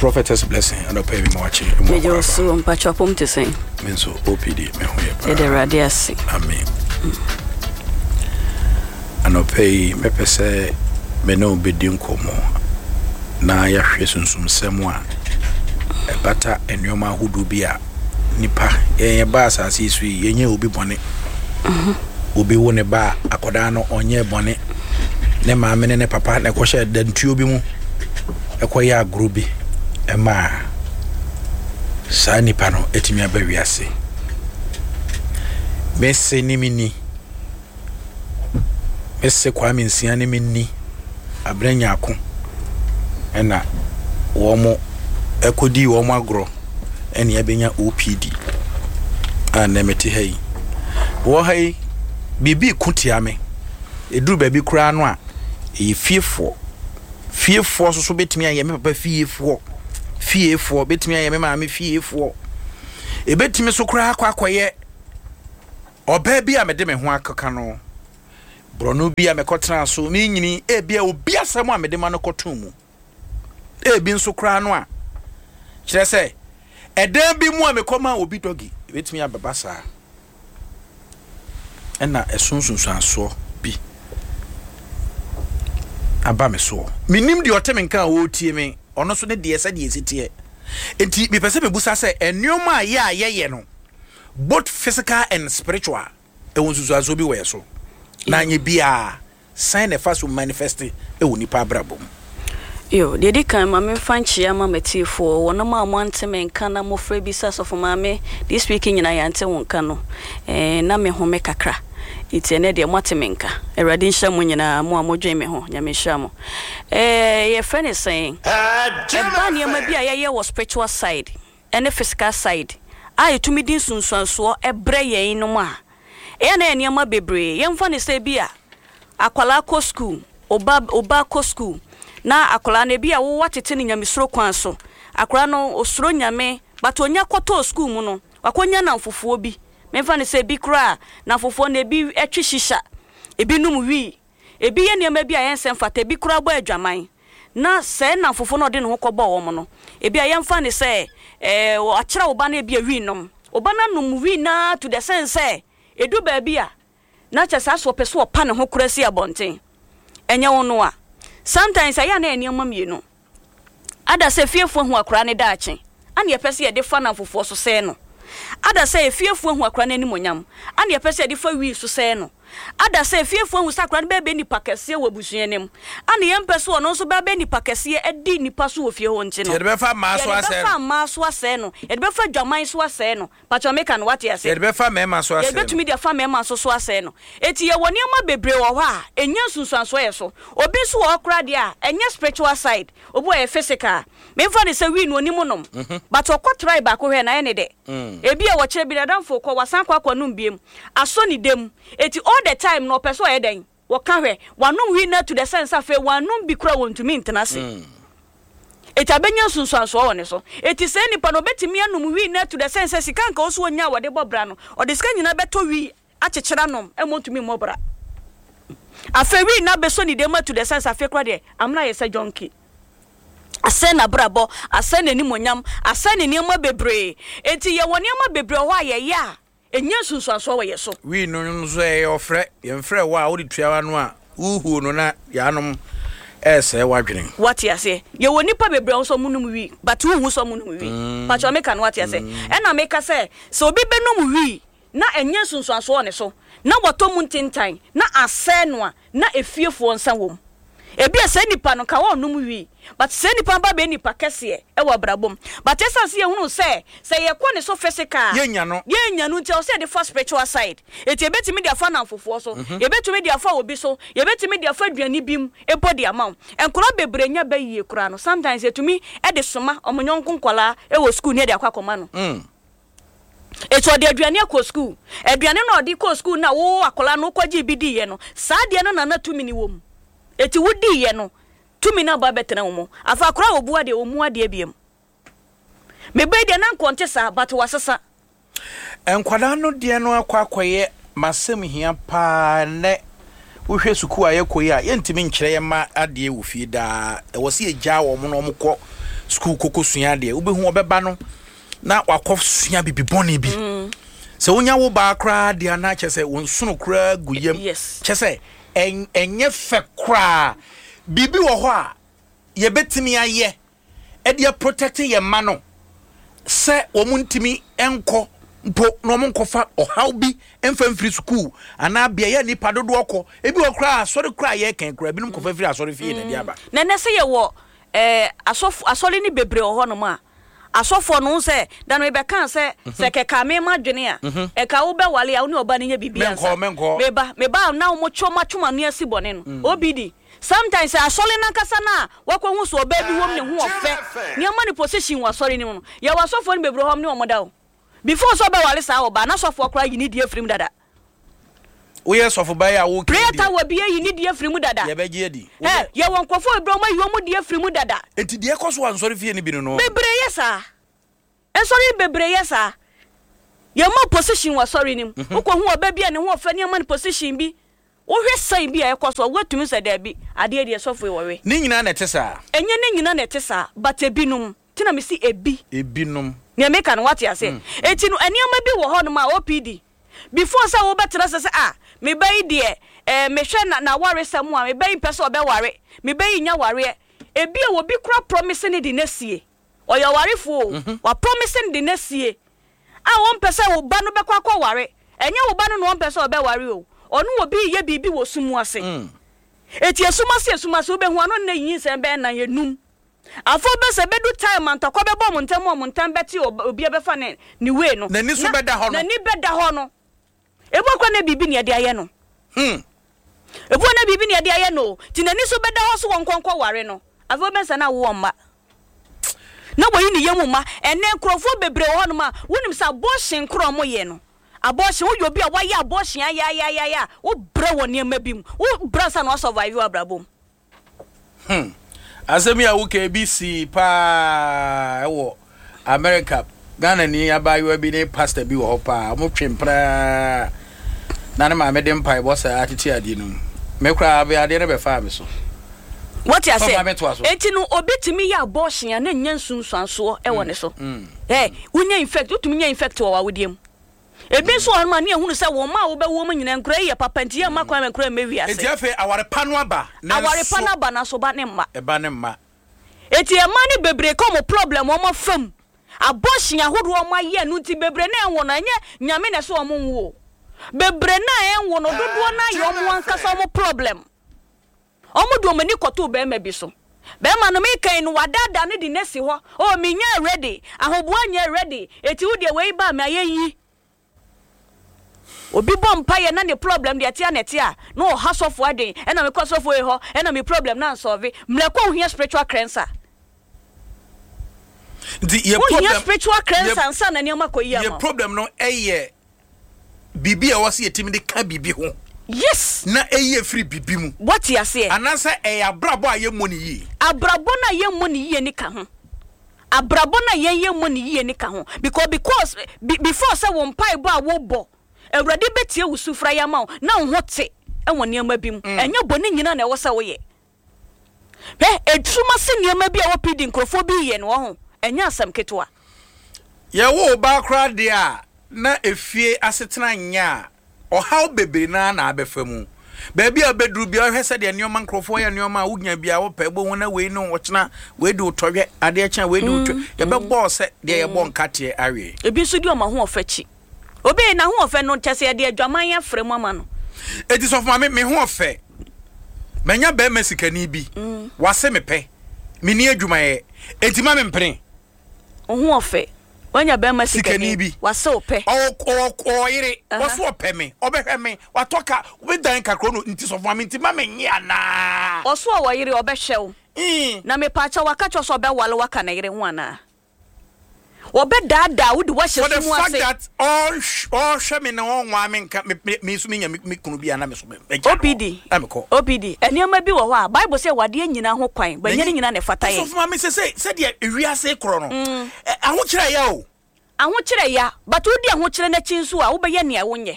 Prophetess Blessing, anɔpa yi mema wakye mu Megye wo so, mpakyɛ ɔpom te sɛn? Me nso OPD me ho yɛ paa. Yɛde Awurade ase. Amen. Anɔpa yi mɛpɛ sɛ me ne wo bɛdi nkɔmmɔ na yɛahwɛ sunsumsɛm a ɛbata nneɛma ahodoɔ bi a nipa yɛn yɛba asase yi so yi yɛnyɛ obi bɔne. Mhm. Obi wo ne ba a akwadaa no ɔnyɛ bɔne. Ne maame ne ne papa na ɛkɔhyɛ dantuo bi mu ɛkɔyɛ agorɔ bi ɛmaa saa nipa no ɛtumi aba wiase. Mese ne menni. Mese Kwame Nsia ne me nni Abena Nyarko ɛna wɔn ɛkɔdii wɔn agorɔ ɛne abɛnya OPD a nnɛ mete ha yi. Wɔ ha yi, biribi ko tia me. Ɛduru baabi koraa no a, ɛyɛ fiefoɔ. Fiefoɔ nso so bɛtumi ayɛ me papa fiefoɔ. Fiefoɔ bɛtumi ayɛ me maame fiefoɔ. Ɛbɛtumi so koraa akɔ akɔyɛ Ɔbaa bi a mede me ho akeka no, borɔno bi a mekɔtenaa so menyini, ebia obi asɛm a mede ma no kɔtoo mu. Ebi nso koraa no a, kyerɛ sɛ, ɛdan bi mu a mekɔmaa obi dɔgi, ebetumi abɛba saa. Ɛna ɛso nsunsuansoɔ bi aba me soɔ. Menim deɛ ɔte me nka a ɔretie me, ɔno nso ne deɛ sɛdeɛ ɛsi teɛ. Enti mepɛ sɛ mebusa sɛ, nneɛma a yɛ a yɛyɛ no, both physical and spiritual ɛwɔ nsusuansoɔ bi wɔ yɛ so na anyɛ biaa sɛn na ɛfa so manifest wɔ nipa abrabɔ mu. Yo, deɛ ɛdi kan ma memfa nkyea ma m'atiefoɔ, wɔnom a moante me nka na mofrɛ bisa Sɔfo Maame, this week nyinaa yɛante wo nka no, eh, na me home kakra, nti ɛnɛ deɛ moate me nka. Awurade nhyira mo nyinaa, mo a modwen me ho, Nyame nhyira mo. Eh, yɛfrɛ no sɛn? Ɛba nneɛma bi a yɛyɛ wɔ spiritual side, ne physical side a ɛtumi de nsunsuansoɔ brɛ yɛn nom a, ɛyɛ a na ɛyɛ nneɛma bebree. Yɛmfa no sɛ ebi a akwadaa kɔ sukuu, wo ba wo ba kɔ sukuu na akwadaa no ebi a wo woatete no nyamesuro kwan so, akwadaa no ɔsuro Nyame but ɔnya kɔtɔɔ sukuu mu no, wakɔnya nnamfofoɔ bi. Memfa no sɛ ebi koraa nnamfofoɔ no ebi twe shisha, ebi nom wii, Ebi yɛ nneɛma bi a ɛnsɛ mfata, ebi koraa bɔ adwaman, na sɛɛ nnamfofo no a ɔde ne ho kɔbɔɔ wɔn no, ebia yɛmfa no sɛ wɔakyerɛ wo ba no ebia wii nom. Wo ba no anom wii no ara to the sense sɛ edu baabi a, na kyerɛ sɛ asɛ ɔpɛ sɛ ɔpa ne ho koraa si abɔnten. Ɛnyɛ wo no a. Sometimes ɛyɛ a na ɛyɛ nneɛma mmienu. Ada sɛ fiefo ahu akora no daakye, ana yɛpɛ sɛ yɛde fa nnamfofoɔ so sɛe no? Ada sɛ efiefo ahu akora no animuonyam, ana yɛpɛ sɛ yɛde fa wii so sɛe no? Ada sɛ efiefo ahu sɛ akora no bɛbɛyɛ nipa kɛseɛ wɔ abusua no mu, ana yɛmpɛ sɛ ɔno nso bɛbɛyɛ nipa kɛseɛ adi nnipa so wɔ fie hɔ nti no? Yɛde bɛfa mmaa so Yɛde asɛe bɛfa no. mmaa so asɛe no. Yɛde bɛfa adwaman so asɛe no. Pakyɛ meka no wate aseɛ? Yɛde bɛfa mmarima so asɛe no. Yɛbɛtumi de afa mmarima nso so asɛe no. Enti yɛwɔ nneɛma bebree wɔ hɔ a ɛnya nsunsuansoɔ yɛ so. Obi nso wɔ hɔ koraa deɛ a, ɛnyɛ spiritual side, obi wɔ hɔ ɛyɛ physical. Memfa no sɛ wii no ɔnim nom, but ɔkɔ try baako hwɛ no ayɛ ne dɛ. Ebia wɔkyerɛ bi n'adamfo rekɔ, wasan akɔ akɔnom biom, asɔ ne dam. Enti all the time no ɔpɛ sɛ ɔyɛ dɛn? Wɔka hwɛ, wanom wii no atu the sense sɛ afei wannom bi koraa wɔntumi ntena ase. Eti abenya nsunsuansoɔ wɔ ne so. Eti saa nipa no obetumi anom wii no atu the sense sɛ sika anka ɔwɔ sɛ ɔnya a wɔde bɔ bra no, ɔde sika nyinaa bɛtɔ wii akyekyere anom ma ɔntumi mmɔ bra. Afei wii no abɛsɔ ne dam atu the sense sɛ afei koraa deɛ amena ayɛ sɛ junkie. Asɛe n'abrabɔ, asɛe n'animuonyam, asɛe ne nneɛma bebree. Enti yɛwɔ nneɛma bebree wɔ hɔ a yɛyɛ a Ɛnya nsunsuansoɔ wɔ yɛ so. Wii no nso ɛyɛ ɔfrɛ. Yɛmfrɛ wo a wode tua w'ano a wohuo no na yɛanom ɛresɛe w'adwene. Wate aseɛ? Yɛwɔ nnipa bebree a wɔn nso wɔnom wii but wonhu sɛ wɔnom wii. Pakyɛ meka no wate aseɛ? Ɛna meka sɛ, sɛ obi bɛnom wii na ɛnya nsunsuansoɔ wɔ ne so na watɔ mu ntentan na asɛe no a, na efiefoɔ nsa wɔ mu. Ebia saa nipa no nka ɔnnom wii but saa nipa no ba bɛyɛ nipa kɛseɛ wɔ abrabɔ mu but ɛsiane sɛ yɛhunu sɛ sɛ yɛkɔ ne so physical a Yɛnnya no. yɛnnya no nti ɛwɔ sɛ yɛde fa spiritual side. Enti yɛbɛtumi de afa nnamfofoɔ so, yɛbɛtumi de afa obi so, yɛbɛtumi de afa aduane bi mu mpo de ama wo. Nkwadaa bebree nya ba yie koraa no sometimes yɛtumi de soma wɔn yɔnko nkwadaa wɔ school ne yɛde akɔ akɔma no. Enti ɔde aduane akɔ sukuu. Aduane no a ɔde kɔɔ sukuu no a wo akwadaa no wokɔgyee bi diiɛ no, saa adeɛ no na na tumi no wɔ mu. Enti wodiiɛ no, tumi no aba abɛtena wo mu. Afei akwadaa a ɔbu adeɛ, ɔmmu adeɛ biom. Me ba yi deɛ na anka ɔnte saa, but wasesa. Nkwadaa no deɛ no akɔ akɔyɛ m'asɛm hia paa nnɛ. Wohwɛ sukuu a yɛkɔ yi a, yɛntumi nkyerɛ yɛn mma adeɛ wɔ fie daa. Ɛwɔ sɛ yɛgyaa wɔn na wɔkɔ. sukuu kɔkɔ sua adeɛ. Wobɛhu ɔbɛba no na wakɔ sua bibi bɔne bi. Sɛ wonya wo baa koraa deɛ anaa kyɛ sɛ wo nsono koraa gu yam. Yes. Kyɛ sɛ ɛnyɛ fɛ koraa. Biribi wɔ hɔ a yɛbɛtumi ayɛ de aprotɛkte yɛn mma no sɛ wɔn ntumi nkɔ mpo na wɔn nkɔfa ɔhaw bi mfa mfiri sukuu anaa beaeɛ a nnipa dodoɔ kɔ. Ebi wɔ koraa asɔre koraa a yɛkɛn koraa ebinom kɔfa firi asɔre fie na ɛde aba. Na ɛnɛ sɛ yɛwɔ ɛɛ asɔfo asɔre no bebree wɔ hɔnom a asɔfoɔ no sɛ da no mebɛkaa sɛ sɛ kɛka me ma dwene a ɛka wobɛwale a wo ne ɔba no nyɛ biribi ansa. Menkɔ menkɔ. Meba meba a na wɔn twɛ wɔn atwom ano asi bɔne no. OBD Sometimes sɛ asɔre no ankasa no a wakɔhu sɛ ɔbaa bi wom ne ho ɔfɛ nneɛma ne position wɔ asɔre no mu no, yɛwɔ asɔfoɔ no bebree hɔ a wɔne wɔn da o. Before sɛ ɔbɛware saa ɔbaa no, asɔfoɔ koraa yi ne deɛ firi mu dada. Woyɛ sɔfo ba yi a woka yi Prayer deɛ. tower bi ayi ne deɛ firi mu dada. Yɛbɛgye adi. Ɛ, Woyɛ. yɛwɔ nkurɔfoɔ bebree a wɔayi wɔn deɛ firi mu dada. Enti deɛ ɛkɔ so wɔ ansɔre fie no bi no no. Bebree yɛ saa. Nsɔre bebree yɛ saa. Yɛma position wɔ asɔre no mu. Wokɔhu ɔbaa bi a ne ho ɔfɛ ne yɛma no position bi. Wohwɛ sign bi a ɛkɔ so a, woatumi sɛ daabi, adeɛ deɛ sɔfo yi wɔwe. Ne nyinaa na ɛte saa? Ɛnyɛ ne nyinaa na ɛte saa, but ebinom. Nti na mese ebi. Ebinom. Nea meka no woate aseɛ? Enti no nneɛma bi wɔ hɔnom a OPD, before sɛ wobɛtena ase sɛ ah, me ba yi deɛ eh, mehwɛ na n'awaresɛm a, me ba yi mpɛ sɛ ɔbɛware, me ba yi nnya wareɛ. Ebia obi koraa promise no de no asie. Ɔyɛ ɔwarefoɔ o, wa promise no de no asie a ɔmpɛ sɛ wo ba no bɛkɔ akɔware. Ɛnyɛ wo ba no na ɔmpɛ sɛ ɔbɛware o, ɔne obi reyɛ biribi wɔ sum ase. Enti esum ase esum ase wobɛhu ano nnɛ nyinsɛn bɛyɛ nan, enum. Afei wobɛhu sɛ ɛbɛdu time a ntɔkwa bɛbɔ wɔn ntam a wɔn ntam bɛte obiara bɛfa ne ne way no. N'ani so Na bɛda hɔ no. n'ani bɛda hɔ no. Ebi wɔ hɔ koraa na biribi na yɛde ayɛ no. Hmm. Ebi wɔ hɔ na biribi na yɛde ayɛ no o. Nti n'ani so bɛda hɔ so wɔnkɔ nkɔware no. Afei wobɛhu sɛ na awo mma. Na wayi ne yam mma. Ɛnnɛ nkurɔfoɔ bebree wɔ hɔnom a, wonim sɛ abortion korɔ a wɔyɛ no, abortion, woyɛ obi a wayɛ abortion ayaayaaya a, wobrɛ wɔ nneɛma bi mu. Wobrɛ ansa na woasurvive wɔ abrabɔ mu. Hmm. Asɛm yi a woka ebi sii paa wɔ America. Ghana ni abaayewa bi ne pastor bi wɔ hɔ paa. Wɔn twe mpraa na ne maame de mpaebɔ saa tete adeɛ no mu. Me koraa abe adeɛ no bɛfaa me so. Wote Sɔfo aseɛ? maame toa so. Enti no obi tumi yɛ abortion a na nya nsunsuansoɔ wɔ ne so. Ɛ, wonya infect, wotumi nya infect wɔ w'awodeɛ mu. Ebi nso wɔ hɔnom a, ne yɛhunu sɛ wɔn mma a wobɛwo wɔn nyinaa, nkura yi yɛ papa nti yɛmma kwan ma nkura yi mmɛ wiase. Enti afei aware pa no aba, Aware pa nanso. no aba, nanso ba ne mma. Ɛba ne mma. Enti mmaa no bebree ka wɔn problem wɔn afa mu, abortion ahodoɔ a wɔn ayɛ no nti bebree no a ɛnwo no, ɛnyɛ Nyame na ɛsɛ wɔn nwo o. Bebree no a ɛnwo no, dodoɔ no ara yɛ wɔn ankasa wɔn problem. Wɔde wɔn ani kɔtoo barima bi so. Barima no, meka yi no, wadaadaa no de no asi hɔ. Oh, menyɛɛ ready. Ahoboa nyɛɛ ready. Enti wo deɛ wei ba a, mayɛ yi. Obi bɔ mpaeɛ na ne problem deɛ ɛte a na ɛte a, na ɔha sɔfoɔ adwen. Ɛna mekɔ sɔfoɔ wei hɔ, ɛna me problem no ansɔlve. Mmerɛ kɔ wohia spiritual cleanser. Nti yɛ Wohia problem, spiritual yɛ, cleanser ansa na nneɛma kɔ yie ama yɛ wo. problem no ɛyɛ biribi a ɛwɔ sɛ yɛtumi de ka biribi ho. Yes. Na ɛyi afiri biribi mu. Woate aseɛ? Anaasɛ ɛyɛ abrabɔ a yɛmmɔ no yie. Abrabɔ no a yɛmmɔ no yie no ka ho. Abrabɔ no a yɛn yɛmmɔ no yie no ka ho. Because because be before sɛ wo mpaebɔ a wobɔ, Awurade bɛtie wo sufrɛ ayɛ ama wo na wo ho te wɔ nneɛma bi mu. Ɛnyɛ bɔne nyinaa na ɛwɔ sɛ woyɛ. Hwɛ, esum ase nneɛma bi a ɛwɔ PD nkurɔfoɔ bi reyɛ no, wahu, ɛnyɛ asɛm ketewa. Yɛwo wo ba koraa deɛ a, na efie asetena nyɛ a, ɔhaw bebree no ara na abɛfa mu. Baabi a wobɛduru biara, wohwɛ sɛdeɛ nneɛma nkurɔfoɔ yɛ nneɛma a wonya biara wopɛ, wobɛhu na wei ne ɔkyena, wei de wo tɔhwɛ, adeɛ kye a wei de wo twɛ. Yɛbɛbɔ wo sɛ deɛ yɛbɔ nkateɛ awe. Ebi nso di wɔn ahoɔfɛ akyi. Obi n'ahoɔfɛ no kyɛ sɛ yɛde adwaman afra mu ama no. Enti sɔfo maame, me ho ɔfɛ. Manya barima sikani bi. Wase me pɛ. Menni adwumayɛ. Enti ma mempene. Wo ho ɔfɛ. Wanya barima sikani sikani bi. Wase wo pɛ. Ɔwɔ ɔwɔ ɔwɔ yere. Ɔso ɔpɛ me. Ɔbɛhwɛ me. Watɔ ka. Me dan kakra no nti sɔfo maame nti ma menye anaa? Ɔso ɔwɔ yere ɔbɛhwɛ wo. Na mepaakyɛw waka kyerɛ wo sɛ ɔbɛwale wo aka ne yere ho anaa? Wɔbɛdaadaa wo de wo ahyɛ For the sum fact ase. that ɔnhwɛ me na ɔnwaa me nka me me me nso menya me kunu bi a na me so mɛgya no hɔ OPD, na mekɔ. OPD, nneɛma bi wɔ hɔ a, Bible sɛ yɛwɔ adeɛ nyinaa ho kwan, but ɛnyɛ ne nyinaa na ɛfata yɛn. Ɔsɔfo maame sɛ sɛ sɛdeɛ ewiase korɔ no, ɛ ahokyerɛ ya o. Ahokyerɛ ya, but wodi ahokyerɛ no akyi nso a, wobɛyɛ nea wonyɛ.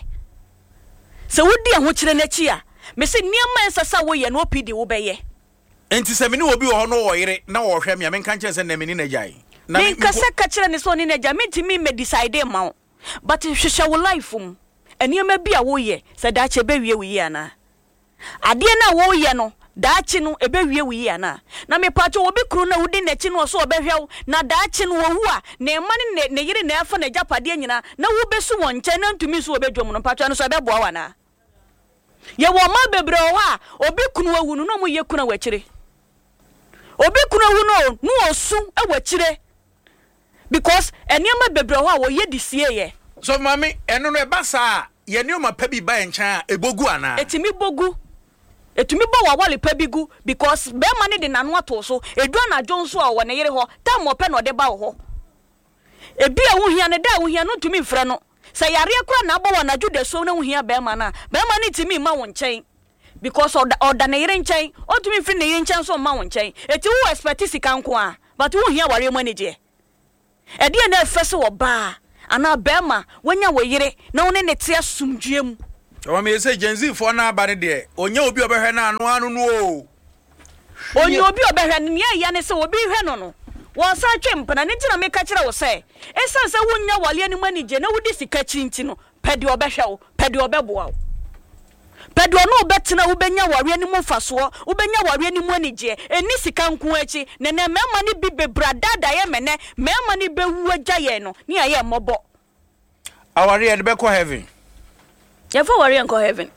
Sɛ wodi ahokyerɛ no akyi a, mese nneɛma a ɛnsɛ sɛ woyɛ no, OPD, wobɛyɛ. Enti sɛ me ne obi wɔ hɔ na ɔwɔ yere na ɔrehwɛ me a, menka nkyerɛ no sɛ nnɛ me ne no agyae? Na me, Menka mpo. sɛ ka kyerɛ no sɛ ɔne no agyae, mentumi mmɛ decide mma wo. But hwehwɛ wo life mu, nneɛma bi a woyɛ, sɛ daakye ɛbɛwie wo yie anaa? Adeɛ no a woreyɛ no, daakye no ɛbɛwie wo yie anaa? Na mepaakyɛw, obi kunu no a wodi n'akyi no ɔse ɔbɛhwɛ wo, na daakye no ɔwu a, ne mma ne ne ne yere na ɛfa n'agyapadeɛ nyinaa, na wobɛsu wɔn nkyɛn na ntumi nsu wɔ badwam no, mpakyɛw ɛno nso ɛbɛboa wo anaa? Yɛwɔ mmaa bebree wɔ hɔ a, obi kunu awu no na wɔyɛ kuna wɔ akyire. Obi kunu awu no o, na ɔsu wɔ akyire because nneɛma bebree wɔ hɔ a wɔyɛ de sieeɛ. Sɔfo Maame, ɛno no ɛba saa a, yɛn nneɛma pa bi ba yɛn nkyɛn a, ɛbɔ gu anaa? Ɛtumi bɔ gu. Ɛtumi bɔ w'aware pa bi gu because barima no de n'ano ato wo so. Ɛdu anadwo nso a, ɔwɔ ne yere hɔ. Time a ɔpɛ na ɔde ba wo hɔ. Ebia wohia no, da a wohia no wontumi mfrɛ no. Sɛ yareɛ koraa na abɔ wo anadwo dasuo na wohia barima no a, barima no ntumi mma wo nkyɛn because ɔda ɔda ne yere nkyɛn. Ɔntumi mfiri ne yere nkyɛn nso mma wo nkyɛn. Enti wo expect sika nko ara but wonhia awareɛ mu anigyeɛ. Ɛdeɛn na ɛfɛ sɛ ɔbaa anaa barima wanya wo yere na wo ne no te asomdwoeɛ mu? Ɔma meyɛ sɛ Gen Z foɔ no aba no deɛ, ɔnya obi a ɔbɛhwɛ no ano ano no oo. Ɔnya obi a ɔbɛhwɛ no. Nea ɛya ne sɛ obi rehwɛ no no, wɔsan twe mpena. Ɛno nti na meka kyerɛ wo sɛ, ɛsiane sɛ wunnya awareɛ no mu anigyeɛ na wodi sika akyi nti no, pɛ deɛ ɔbɛhwɛ wo, pɛ deɛ ɔbɛboa wo. Pɛ deɛ ɔne wo bɛtena a wobɛnya awareɛ no mu mfasoɔ, wobɛnya awareɛ no mu anigyeɛ. Ɛnni sika nko ara akyi. Na ɛnnɛ mmarima no bi bebree adaadaa yɛn ma ɛnnɛ mmarima no bɛwu agya yɛn no, ne yɛayɛ mmɔbɔ. Awareɛ yɛde bɛkɔ heaven. Yɛmfa awareɛ nkɔ heaven.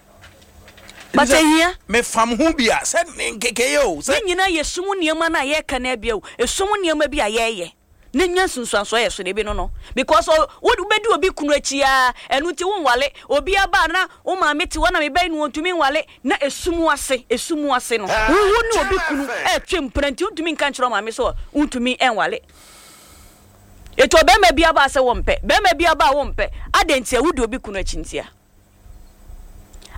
But ehia. Mefam ho bi a sɛ ne nkekɛyɛ o. Sɛ. Ne nyinaa yɛ sum nneɛma no a yɛreka no abia o. Esum nneɛma bi a yɛreyɛ na nya nsunsuansoɔ yɛ so no ebi no no because wobɛdi obi kunu akyi ara ɛno nti wonwale obi aba a na wo maame te hɔ na mebɛyi no wɔntumi nwale na esum ase esum ase no wo ne obi kunu ɛretwe mpena nti wontumi nka nkyerɛ wo maame sɛ wontumi nwale. Enti ɔbarima bi aba sɛ wompɛ, barima bi aba a wompɛ, adɛn ntia? Wodi obi kunu akyi ntia.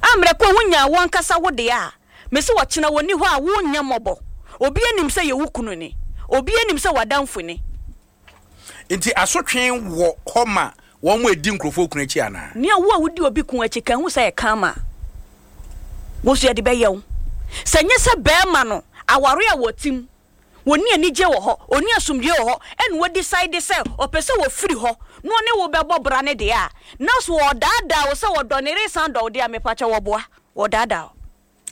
Ammerɛ ko a wonyaa wo ankasa wo deɛ a, mese ɔkyena wɔnni hɔ a wonyɛ mmɔbɔ. Obiara nim sɛ yɛ wo kunu ni, obiara nim sɛ w'adamfo ni. Enti asotwe wɔ hɔ ma wɔn a ɛdi nkurɔfoɔ kunu akyi anaa? Nea wo a wodi obi kunu akyi ka hu sɛ ɛyɛ karma a, wo nso yɛde bɛyɛ wo. Sɛ nyɛ sɛ barima no aware a wɔte mu Ɔnni anigyeɛ wɔ hɔ, ɔnni asomdwoeɛ wɔ hɔ, ɛna wadecide sɛ ɔpɛ sɛ ɔfiri hɔ na ɔne wo bɛbɔ bra no deɛ a, na so ɔredaadaa wo sɛ ɔdɔ ne yere san dɔ wo deɛ a, mepakyɛ wɔboa, wɔdaadaa wo.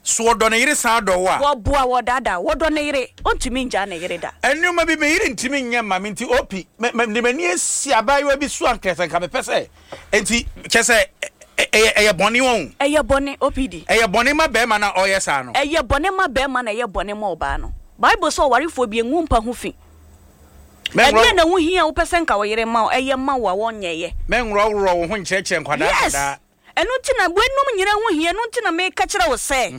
So ɔdɔ ne yere san dɔ wo a? Wɔboa, wɔdaadaa wo. Ɔdɔ ne yere, ɔntumi ngyaa ne yere da. Nneɛma bi me yere ntumi nyɛ mma me nti OP, me, me, mede m'ani asi abaayewa bi so anka sɛ nka mepɛ sɛ Enti, kyerɛ sɛ, ɛyɛ, ɛyɛ bɔne wɔn. Ɛyɛ bɔne, OPD. Ɛyɛ bɔne ma barima no a ɔreyɛ saa no. Ɛyɛ bɔne ma barima na ɛyɛ bɔne ma ɔbaa no. Bible sɛ ɔwarefoɔ bi ngu mpa ho fi. Ɛdeɛn na ɛho hia a wopɛ sɛ nka wo yere ma wo, ɛyɛ ma wo a wɔnyɛeɛ? Mɛnworɔworɔ wo ho nkyerɛkyerɛ nkwadaa Yes! nkwadaa. Ɛno nti na weinom nyinaa ho hia, ɛno nti na meka kyerɛ wo sɛ,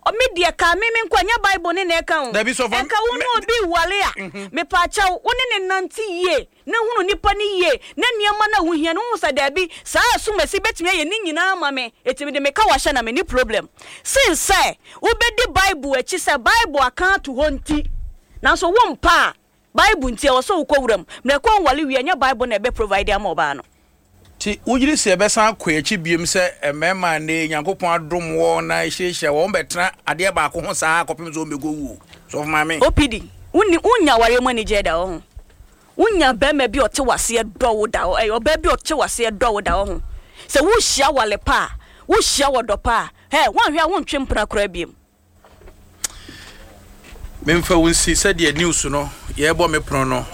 me deɛ kaa me me nko a, ɛnyɛ Bible ne na ɛka o. Dabi, sɔfo, Nka wo ne obi reware a, mepaakyɛw, wo ne no nnante yie, na hunu nipa no yie, na nneɛma no a wohia no, wohu sɛ daabi, saa asumasi bɛtumi ayɛ ne nyinaa ama me, enti mede me ka wahyɛ na menni problem. Sen sɛ wobɛdi Bible akyi sɛ Bible aka ato hɔ nti, nanso wompɛ a, Bible nti ɛwɔ sɛ wokɔ wuram. Mmerɛ kɔ nwale wie a, ɛnyɛ Bible na ɛbɛ provide ama ɔbaa no. Nti wogyedi sɛ yɛbɛsan akɔ yɛn akyi biom sɛ mmarima a nnɛ yi Nyankopɔn adom wɔn na ahyiahyia wɔn bɛtena adeɛ baako ho saa kɔpem sɛ wɔn bɛkɔ wuo? Sɔfo Maame. OPD, wonni wonnya awareɛ mu anigyeɛ da ɔho? Wonnya barima bi a ɔte w'aseɛ dɔ wo da ɔ ɔbaa bi a ɔte w'aseɛ dɔ wo da ɔho? Sɛ wohyia aware pa a, wohyia ɔdɔ pa a, hɛ, woanhwɛ a wontwe mpena koraa biom. Memfa wo nsi sɛdeɛ news no yɛbɔ me pono no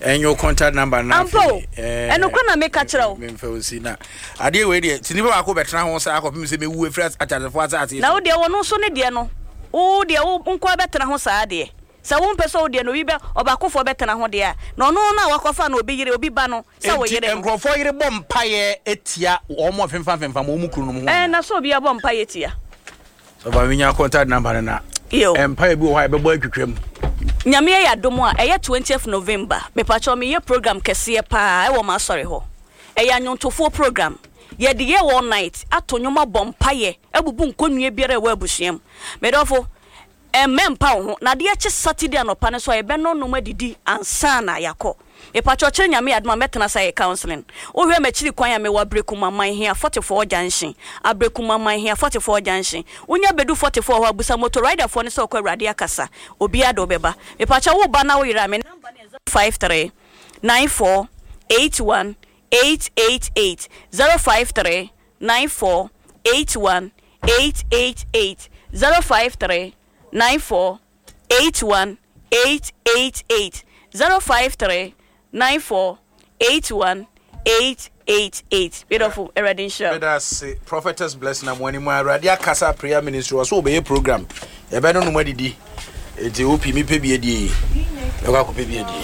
ɛnyɛ wo contact number na Ampa o, ɛnokorɛ na meka kyerɛ wo. Memfa wo nsi na adeɛ wei deɛ sɛ nipa baako bɛtena ho saa kɔpem sɛ mɛwu afiri ateasefoɔ asase Na wo deɛ ɔno nso ne deɛ no, wo deɛ wo nkoa bɛtena ho saa deɛ. Sɛ wompɛ sɛ wo deɛ no obi bɛ ɔbaakofoɔ bɛtena ho deɛ a, na ɔno no a wakɔfa no obi yere obi ba no sɛ wo Enti yere no. nkurɔfoɔ yere bɔ mpaeɛ tia wɔn a femfamfemfam wɔn kununom ho Ɛɛ, anaa? na sɛ obiara bɔ mpaeɛ tia. Sɔfo mi nya contact number no na. Yo. Mpae bi wɔ hɔ a yɛbɛbɔ atwitwa mu. Nyame ayɛ adom a, ɛyɛ twentieth November, mepakyɛw meyɛ program kɛseɛ paa ɛwɔ m'asɔre hɔ. Ɛyɛ anwontofoɔ program. Yɛde yɛ all night, ato nwom abɔ mpaeɛ, abubu nkɔnnua biara a ɛwɔ abusua mu. Medɔfo, Mmɛmpa wo ho. Na adeɛ kye Saturday anɔpa no nso a, yɛbɛnɔnom adidi ansa na yɛakɔ. Mepakyɛw kyerɛ Nyame adom a mɛtena ase ayɛ counseling. Wohwɛ m'akyiri kwan a mewɔ Aberekum Amanhia 44 junction. Aberekum Amanhia 44 junction. Wonya bɛdu 44 hɔ a busa motor rider foɔ no sɛ ɔkɔ Awurade akasa. Obiara de wo bɛba. Mepakyɛw wo ba na wo yere a me number no yɛ 053 94 81 888 053 94 81 888 053 94 81 888 053 94 81 888 Medɔfo, Awurade nhyira wo. Meda ase Prophetess Blessing Amoani mu Awurade akasa prayer ministry ɔso wɔbɛyɛ program yɛbɛnonom adidi nti wo pii mepɛ bi adie yi mɛkɔ akɔpɛ bi adie.